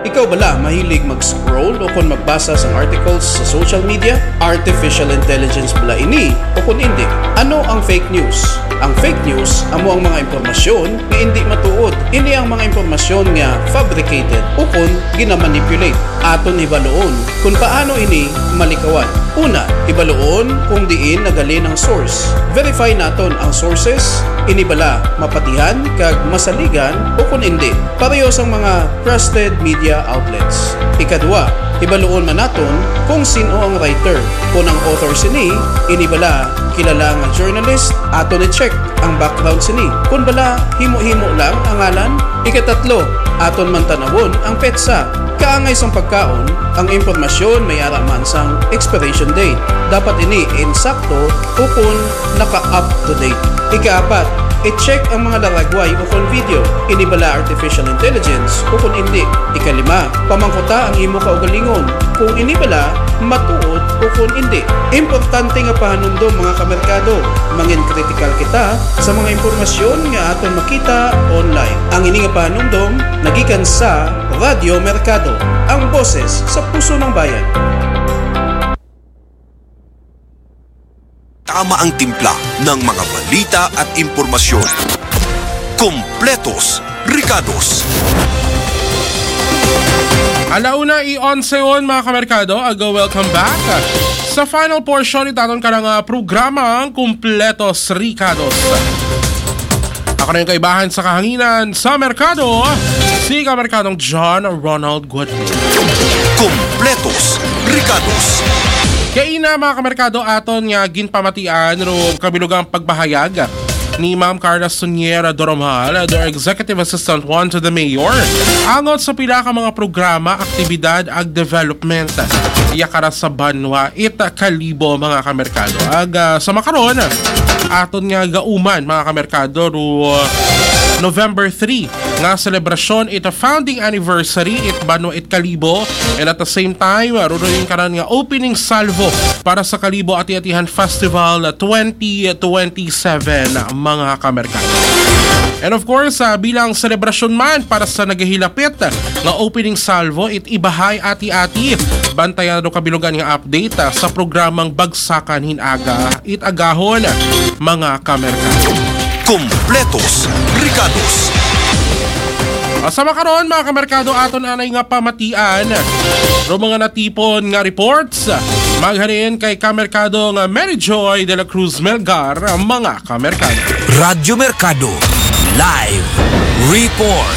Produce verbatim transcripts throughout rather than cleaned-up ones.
Ikaw bala mahilig mag-scroll o kon magbasa sang articles sa social media? Artificial intelligence bala ini o kon indi? Ano ang fake news? Ang fake news amo ang mga impormasyon nga indi matuod. Ini ang mga impormasyon nga fabricated o kon ginamanipulate. Aton hibaluon kon paano ini malikawan. Una, hibaluon kung diin nagalin ang source. Verify naton ang sources, ini bala mapatihan kag masaligan o kon indi. Pareho sang mga trusted media outlets. Ikadua, hibaluon man naton kung sin-o ang writer. Kon ang author sini, ini bala kilala nga journalist, aton i-check ang background sini. Kon bala himo-himo lang ang ngalan. Ikatatlo, aton man tan-awon ang petsa. Kaangay sang pagkaon, ang impormasyon may ara man sang expiration date. Dapat ini insakto o kon naka-up to date. Ikaapat, i-check ang mga laragway o kon video. Ini bala artificial intelligence o kon indi? Ikalima, pamangkuta ang imo kaugalingon kung ini bala matuod o kon indi. Importante nga pahanumdom, mga kamerkado, mangin kritikal kita sa mga impormasyon nga aton makita online. Ang ini nga pahanumdom nagikan sa Radyo Merkado, ang boses sa puso ng bayan. Tama ang timpla ng mga balita at impormasyon. Kompletos, rikados. Alauna i onse on, mga kamerkado, agaw, welcome back sa final portion ni taton ka nga programang Kompletos Rikados. Ako na yung kaibahan sa kahanginan sa merkado, si Kamerkadong John Ronald Goodman. Kompletos, rikados. Kay ina, mga kamerkado, aton nga ginpamatian ro kabilugang pagpahayag ni Ma'am Carla Suniera Doromal, the Executive Assistant one to the Mayor, angot sa pila ka mga programa, aktibidad ag development iya kara sa banwa it Kalibo, mga kamerkado. Ag ah, sa makaron, aton nga gauman, mga kamerkado, ro November three nga selebrasyon it founding anniversary it banwa it Kalibo, and at the same time, ruruin karan nga opening salvo para sa Kalibo Ati-Atihan Festival twenty twenty-seven, mga kamerkado. And of course, ah, bilang selebrasyon man para sa nagahilapit nga opening salvo it Ibahay Ati-Ati, bantayan ro kabilugan nga update ah, sa programang Bagsakan Hinaga it agahon, mga kamerkado. Kompletos, rikados. Ah, sa makaron, mga kamerkado, aton anay nga pamatian ro mga natipon nga reports maghalin kay kamerkado nga Mary Joy de la Cruz Melgar, mga kamerkado. Radyo Merkado, live report.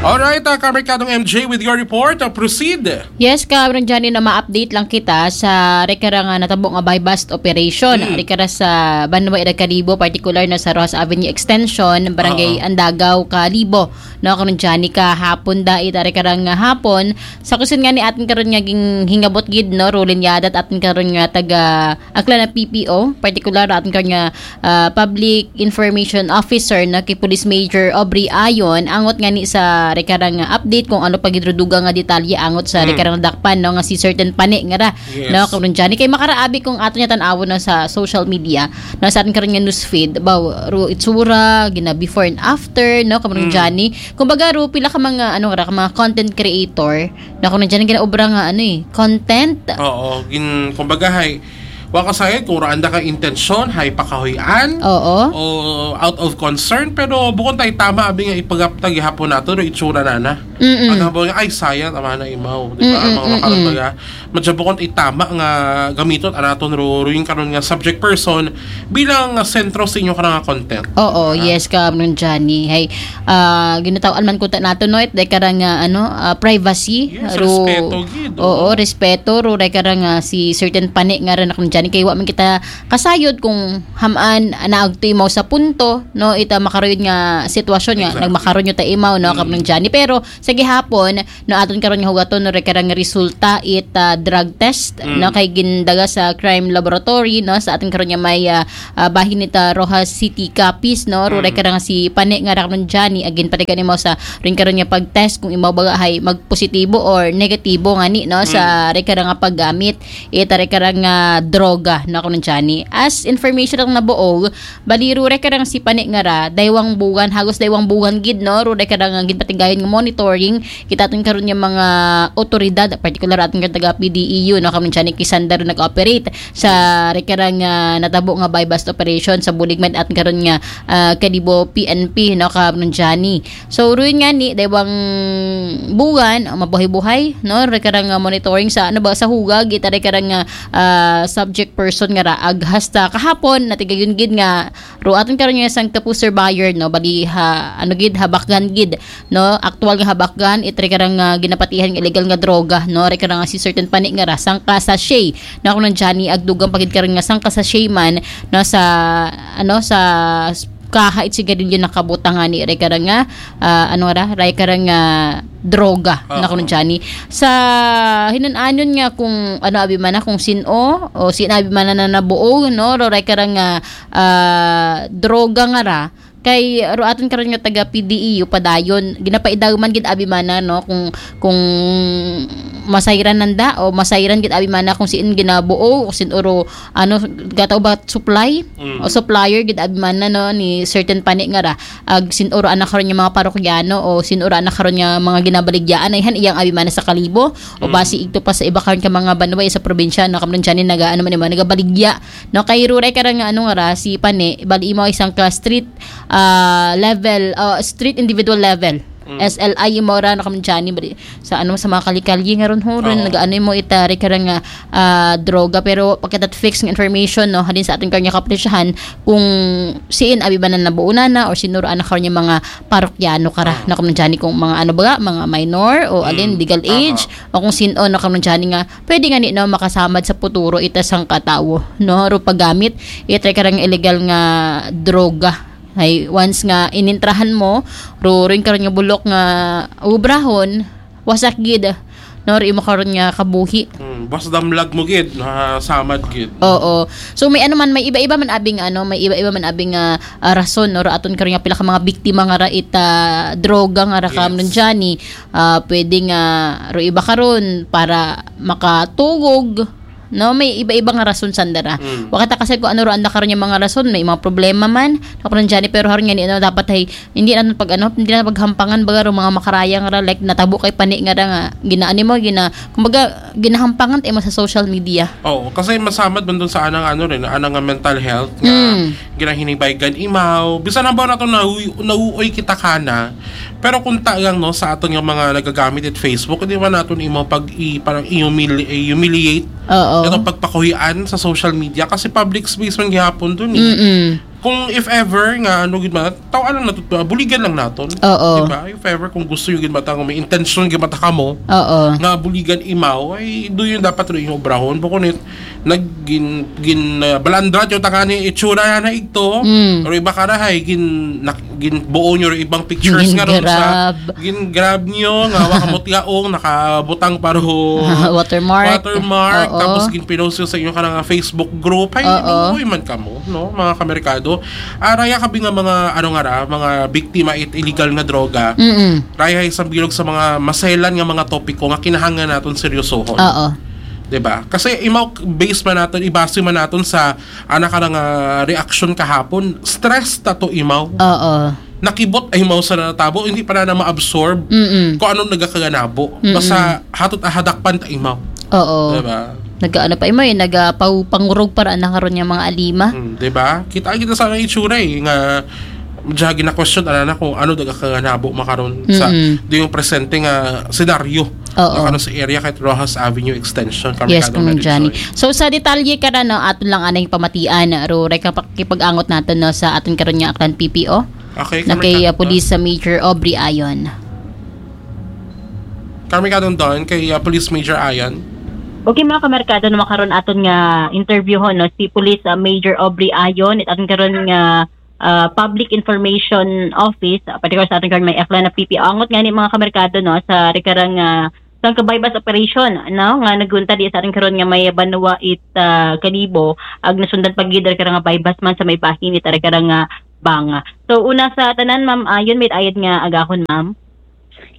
Alright, uh, kamerkadong M J with your report. Uh, proceed. Yes, Karon Johnny, na ma-update lang kita sa rekara nga natabo nga buy-bust operation. Mm. Rekara sa Banwa Iragkalibo, particular na sa Rojas Avenue Extension, Barangay Oo. Andagaw, Kalibo. No, Karon Johnny, kahapon da ita rekara nga hapon. Sa kusin nga ni atin karon nga ging hingabot gid, no, Roland Yadat, atin karon nga taga Aklan na P P O, particular atin karon nga ah, Public Information Officer na kay Police Major Aubrey Ayon, angot nga ni sa rekarang nga update kung ano pa gid ro dugang nga detalye angot sa Mm. rekarang dakpan, no, nga si certain pani nga ra, Yes. no, karon Johnny. Kay makaraabi kung ato niya tan-awon na sa social media, na sa ating karon nga news feed, baw, ro itsura, gina before and after, no, karon Mm. Johnny. Kumbaga, ro pila ka mga, ano ra, ka mga content creator, na karon Johnny, ginaobra nga, ano eh, content. Oo, gin, kumbaga, hay, wa ka sayod kung raan da ka intensyon, hay pakahuy-an, Oo. o out of concern, pero bukon tay tama, abi nga ipagapta gihapon nato, no, itsura na na. Mm-mm. Ang hambal nga, ay, sayang, tama na imaw. Di ba? Mm-mm, Mga makaroon mm-mm. Baga, madya bukon itama nga gamiton, anaton, ro, ro, yung karon nga subject person, bilang, ah, sentro sa inyo karang nga content. Oo, Ah. Yes, Karon Johnny. Hay, ah, ginataw-an man kunta nato, no, it, dahil karang, ah, ano, ah, privacy. Yes, Ro-, respeto gid, oo, oo. Respeto, ro, dahil karang, ah, si certain pani nga rin akong Johnny. Kay wa man kita kasayod kung hamaan, ah, naagto imaw sa punto, no, ita makaruyod nga sitwasyon nga, Exactly. Nagmakaruyod ta imaw, no, Mm. Karon Johnny. Pero, sa gihapon, no, aton karon nga hugaton, no, rekarang resulta it, ah, drug test, Mm. no, kay gindaga sa crime laboratory, no, sa aton karon nga may, ah, ah, bahin it, ah, Roxas City, Capiz, no, ro Mm. rekarang si pani nga ra karon Johnny, agin pati kani mo sa rin karon nga pag-test kung imaw baga hay magpositibo or negatibo ngani, no, sa Mm. rekarang nga paggamit it, ah, rekarang nga droga. droga, no, kuno Johnny. As information ang nabuo, bali, ruray ka rang si Pani nga ra, daywang buwan, hagos daywang buwan gid, no, ruray ka rang ginpatigayon nga monitoring, kita aton karon nga mga otoridad, particular aton nga taga P D E U, no, kuno Johnny, kay sanda ro nag-operate sa rikara nga natabo nga buy-bust operation sa bulig man aton karon nga, ah, Kalibo P N P, no, kuno Johnny. So, ruin nga ni, daywang buwan, ah, mabuhay-buhay, no, rikara nga monitoring sa, ano ba, sa hugag, ita rikara nga, ah, subject person nga raag. Hasta kahapon, natigayon gid nga, ro aton karon nga sang kapuser buyer, no, bali ha, ano gid, habakgan gid, no, aktual nga habakgan, ita rikara nga ginapatihan nga illegal nga droga, no, rikara nga si certain Pani nga ra, sangka sachet, no, kuno Johnny, ag dugang pa gid karon nga sangka sachet man, no, sa, ano, sa kaha it sigarilyo nakabutang nga ni rikara nga, ah, ano ra, rikara nga droga, Oo. na kuno Johnny. Sa hinun-anon nga kung ano abi man na, kung sin-o, o sin abi man na nabuo, no, ro rikara nga, ah, droga nga ra, kay ro aton karon nga taga P D E U padayon, ginapaidaw man gid abi man na, no, kung, kung masayran nanda o masayran gid abi man na kung sin ginabuo o sin uro, ano, gataw ba supply Mm. o supplier gid abi man na, no, ni certain Pani nga ra, ag sin uro ana karon nga mga parokyano o sin uro ana karon nga mga ginabaligyaan, ay han iyang abi man na sa Kalibo o Mm. basi igto pa sa iba karon ka mga banwa sa probinsya, no, karon Johnny, naga, ano man, mga nagabaligya, no, kay ruray ka ra nga, ano nga ra, si Pani, bali imo isang ka street, ah, level, ah, street individual level. Mm. S L I imo ra, no, karon Johnny, bali, sa, ano, sa mga kali-kali nga ron, ho, ron, Oo. nagaano mo itari ka ra nga, ah, droga, pero pagkatat fix nga information, no, halin sa aton kanya kapulisyahan, kung siin abi ba na nabuo na na, or sinuraan na karon yung mga parokyano ka ra, Ah. na karon Johnny, kung mga, ano ba, mga minor, o alin, Mm. legal Aha. age, o kung sin-o, no, karon Johnny, nga pwede nga ni, no, makasamad sa puturo ita sang katawo, no, ro paggamit, itry ka ra nga illegal nga droga. Ay, once nga inintrahan mo, ro, rin karon nga bulok nga ubrahon, wasak gid, no, ro imo karon nga kabuhi. Hmm, basta damlag mo gid, nasamad gid. Oo. So, may ano man, may iba-iba man abing, ano, may iba-iba man abing, ah, ah, rason, no, ro aton karon nga pila ka mga biktima nga ra ita droga nga ra Yes. karon Johnny. Ah, pwede nga ro iba karon para makatugog, no, may iba-iba nga rason sanda ra. Mm. Wa kita kasay kung ano ra ang karon yung mga rason, may mga problema man, ako nang Johnny, pero haron nga ni, ano, dapat ay, hindi natin pag, ano, hindi na paghampangan, baga, ro mga makarayang ra, like, natabo kay Pani nga ra nga, ginaani mo, gina, kumbaga, ginahampangan tayo mo sa social media. Oo, kasi masamad man dun sa anang, ano rin, anang nga mental health, nga Mm. ginahinibay gan imaw. Bisan na ba nato na nauuoy kita kana, pero kung tagang, no, sa aton nga mga nagagamit it Facebook, di ba naton imaw pag i-, parang i-humili-, i-humiliate Oo. Itong pagpakuhian sa social media kasi public space man gihapon dun eh. Mm-mm. Kung if ever nga, ano gid man, taw-an lang nato, buligan lang naton. Oo. Di ba? If ever kung gusto yung gid mata, kung may intention gid mata ka mo, Oo. nga buligan imaw, ay do yun dapat rin yung obrahon. Bukon it, nag-, gin, gin, uh, balandrat yung takani, itsura na na igto, Mm. pero iba ka na, hay, gin, nak-, ginbuo nyo rin ibang pictures nga ron sa Gin-grab. Gin-grab nyo nga wa ka mutyaong nakabutang paro Watermark. Watermark, Oo. tapos ginpinost nyo sa inyo ka nga Facebook group. Ay, Oo. Maluoy man kamo, no, mga kamerkado. Ah, raya kabi nga mga, ano nga ra, mga biktima it illegal nga droga. Mm-mm. Raya isang bilog sa mga maselan nga mga topiko nga kinahanglan naton seryosohon. Oo. Diba? Kasi imaw base man naton, ibase man naton sa ana ka nga reaksyon kahapon, stress ta to imaw. Oo. Nakibot ay imaw sa natabo, hindi pa na, na ma-absorb Mm-mm. kung anong nagakaganabo. Mm-mm. Basta hatot ahadakpan ta imaw. Oo. Diba? Nag-ano pa imaw, eh, nagapangurog para na karon yung mga alima. Mm, diba? Kita kita sa itsura eh, nga diya gina-question ana na kung ano nagakaganabo makaron sa Mm-mm. di yung presente nga senaryo. Oo. Nga ano sa area kahit Rojas Avenue Extension, kami Yes, kadong Kuya Johnny. Narisoy. So, sa detalye ka na, no, aton lang anay pamatian, ro, rek, ang pakipag-angot natin, no, sa aton karon nga Aklan P P O. Okay, Na kami kay, ka-, uh, Police, uh, Major Aubrey Ayon. Kami kadong doon kay, uh, Police Major Ayon. Okay, mga kamerkado, no, makaron aton nga interview ho, no, si Police, uh, Major Aubrey Ayon, it aton karon nga ah, Public Information Office, ah, particular sa aton karon may Aklan na P P O. Angot nga ni mga kamerkado, no, sa rikarang, ah, sang ka buy-bust operation, no, nga nagunta di sa aton karon nga may banwa it, ah, Kalibo, ag nasundan pa gid rikarang nga buy-bust man sa may bahin it rikarang nga banga. So, una sa tanan, ma'am, ah, yun, may ayad nga agahon, ma'am.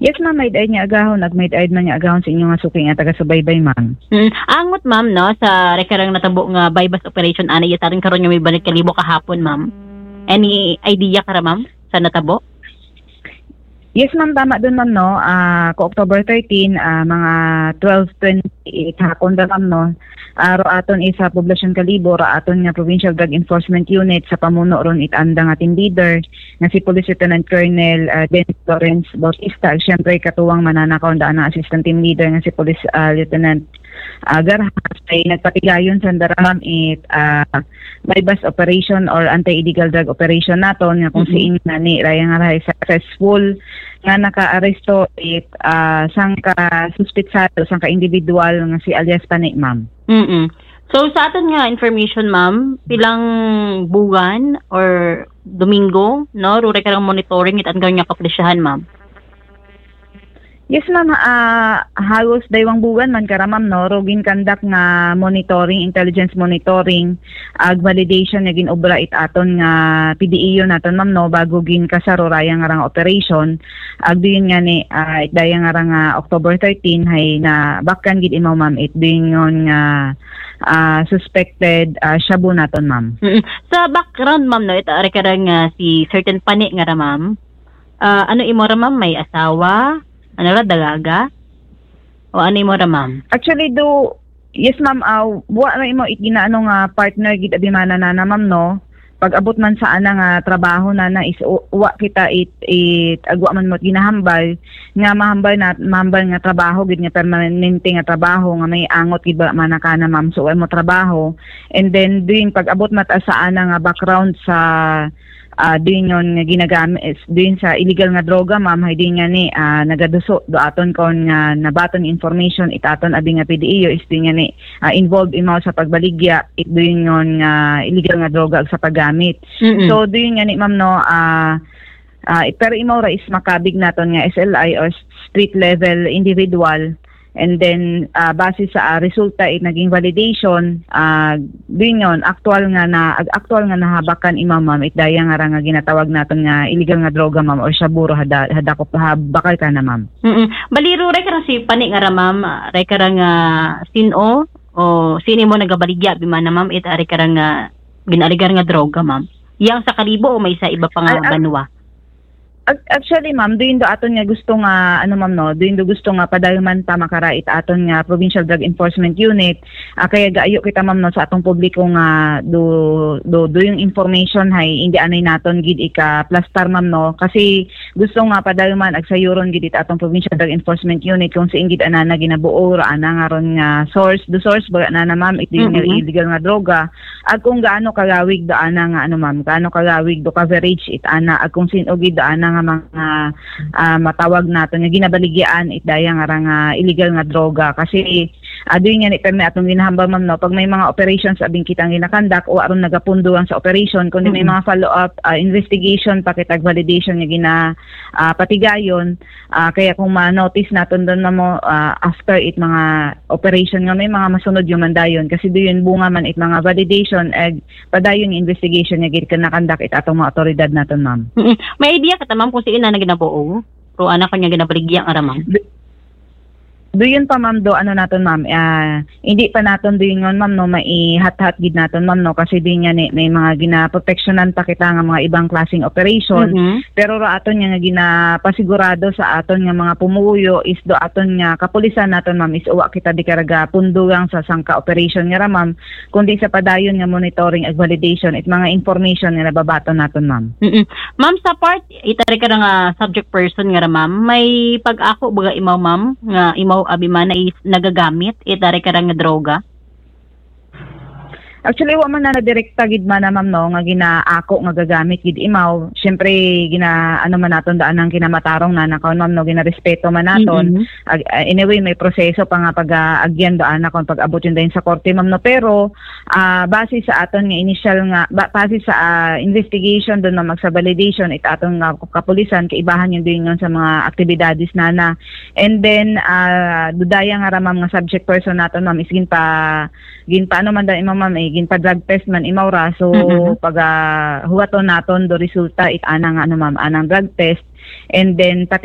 Yes, ma'am. May daid nga agahon. Ag may daid man nga agahon sa inyo nga suki nga taga-subaybay, ma'am. Mm. Angot, ma'am, no, sa rekarang natabo nga buy-bust operation, ana, iya tarin karon nga may balik kalibo kahapon, ma'am. Any idea ka ra, ma'am, sa natabo? Yes, ma'am, tama dun, ma'am, no. Ah, ko October thirteen, ah, mga twelve twenty-eight hakon ra, ma'am, no. Ah, ro aton isa Poblacion Kalibo, ra aton nga Provincial Drug Enforcement Unit sa pamuno ron it anda nga team leader nga si Police Lieutenant Colonel, ah, Dennis Lawrence Bautista, ag siyempre katuwang mananakaw daan ang assistant team leader nga si Police, ah, Lieutenant, ah, Garhas, ay nagpatigayon sa dara, ma'am, it, ah, buy-bust operation or anti-illegal drug operation naton nga kung Mm-mm. siin nga ni raya nga rahay successful nga nakaaresto it, ah, sangka suspitsado, sangka individual nga si alias Pani, ma'am. Mm-mm. So, sa aton nga information, ma'am, pilang buwan or Domingo, no, ruray ka ng monitoring it anggang nga kapulisyahan, ma'am? Yes, ma'am. Ah, halos daywang buwan man kara, ma'am, no, ro gin-conduct nga monitoring, intelligence monitoring, ag validation nga gin-obra it aton nga P D E O naton, ma'am, no, bago gin-kasaruraya nga rang operation. Ag diyon nga ni, ah, it daya nga rang, ah, October thirteen, hay na bakkan gid imaw, ma'am, it diyon nga, ah, suspected, ah, shabu naton, ma'am. Mm-mm. Sa background, ma'am, no, ito, ari ka ra nga si certain Pani nga ra, ma'am. Ah, ano imo ra, ma'am? May asawa? Ano ra, dalaga? O ano imo ra, ma'am? Actually, do, yes, ma'am, ah, wa ra imo it ginaano nga partner gid abi mana na, na, ma'am, no? Pag-abot man sa ana nga trabaho na, na is, u-, wa kita it, it, agwa man mo ginahambal, nga mahambal na, mahambal nga trabaho gid nga permanente nga trabaho nga may angot gid ba mana ka na, ma'am? So, wa mo trabaho. And then, doon, pag-abot mata sa ana nga background sa, ah, doon yun nga ginagamit, is doon sa illegal nga droga, ma'am, hay din nga ni, ah, nagaduso do aton kon nga nabaton information it aton abi nga P D E O is doon nga ni, ah, involved imaw sa pagbaligya it doon yun nga illegal nga droga ag sa paggamit. Mm-mm. So, doon nga ni, ma'am, no, ah, ah, pero imaw ra is makabig naton nga S L I or street level individual. And then, ah, base sa, ah, resulta it naging validation, ah, doon yun, actual nga na, ag-, actual nga nahabakan imaw, ma'am, it daya nga ra nga ginatawag naton nga illegal nga droga, ma'am, or shabu ro hada, hadakop, ha, bakal ka na, ma'am. Mm-mm. Bali, ro, ray ka ra si Pani nga ra, ma'am, ah, ray ka ra nga sin-o, o sini mo nagabaligya, bi mana, ma'am, it ari ka ra nga ginaligar nga droga, ma'am. Yang sa Kalibo o may sa iba pa nga Al-, al-, banwa? Ac-, actually, ma'am, doon do aton nga gusto nga, ano, ma'am, no, doon do gusto nga padalman pa makara it aton nga Provincial Drug Enforcement Unit. Ah, kaya gaayo kita, ma'am, no, sa atong publiko nga do, do, do yung information hay, hindi anay naton gid ika-plastar, ma'am, no, kasi gusto nga padalman ag sayuron gid it atong Provincial Drug Enforcement Unit kung saan gid anana ginabuo ra ana nga ron nga source, do source ba na, na, ma'am, it yung Mm-mm. illegal nga droga. Ag kung gaano kagawig do ana nga, ano, ma'am, gaano kagawig do coverage it ana, ag kung sin-o gid do ana nga mga, ah, matawag nato nga ginabaligyaan it daya nga ra nga illegal nga droga. Kasi, ah, doon nga ni, permi atong ginahambal, ma'am, no, pag may mga operations abing kitang ginakandak, wa ron nagapundo ang sa operation, kundi may Mm-mm. mga follow-up, ah, investigation, pakitag validation nga gina, ah, patigayon. Ah, kaya kung ma-notice naton doon, ma'am, mo, ah, after it mga operation nga may mga masunod yung mandayon, kasi doon bunga man it mga validation, eh, padayon yung investigation nga gid kinakandak it atong mga otoridad naton, ma'am. Mm-mm. May idea ka ta, ma'am, kung sino na ginabuo? Pero anak ko niya ginabaligya nga ra, ma'am. Do-, doon pa, ma'am, do, ano naton, ma'am, ah, hindi pa naton doon ngon, ma'am, no, maihathat gid naton, ma'am, no, kasi doon nga ni, may mga ginaproteksyonan pa kita nga mga ibang klaseng operation. Mm-hmm. Pero ra aton nga, nga ginapasigurado sa aton nga mga pumuyo is do aton nga kapulisan naton, ma'am, is uwa kita di karaga pundugang sa sangka operation nga ra, ma'am, kundi sa padayon nga monitoring ag validation it mga information nga nababaton naton, ma'am. Mm-mm. Ma'am, sa part, itari ka nga subject person nga ra, ma'am, may pag-ako baga imaw, ma'am, nga imaw abi man ay nagagamit, itari ka nga droga? Actually, wa man na direkta gid man na, ma'am, no, nga ginaako nga gagamit gid imaw. Siyempre, gina-, ano man naton daan ang kinamatarong na nakaon, ma'am, no, ginarespeto man naton. Mm-mm. Ag-, ah, anyway, may proseso pa nga pag-, ah, agyan daan na kung pag-abot yun dahil sa korte, ma'am, no. Pero, ah, base sa aton nga initial nga, ba-, base sa, ah, investigation doon, ma'am, sa validation, it aton nga kapulisan, kaibahan yun din yun sa mga aktibidades na na. And then, ah, dudaya nga ra, ma'am, nga subject person naton, ma'am, is ginpa-, ginpaano man daw imaw, ma'am, eh, ginpa-drug test man imaw ra. So, Mm-hmm. pag, ah, huwaton naton do resulta it ana nga, ano, ma'am, anang drug test. And then, pati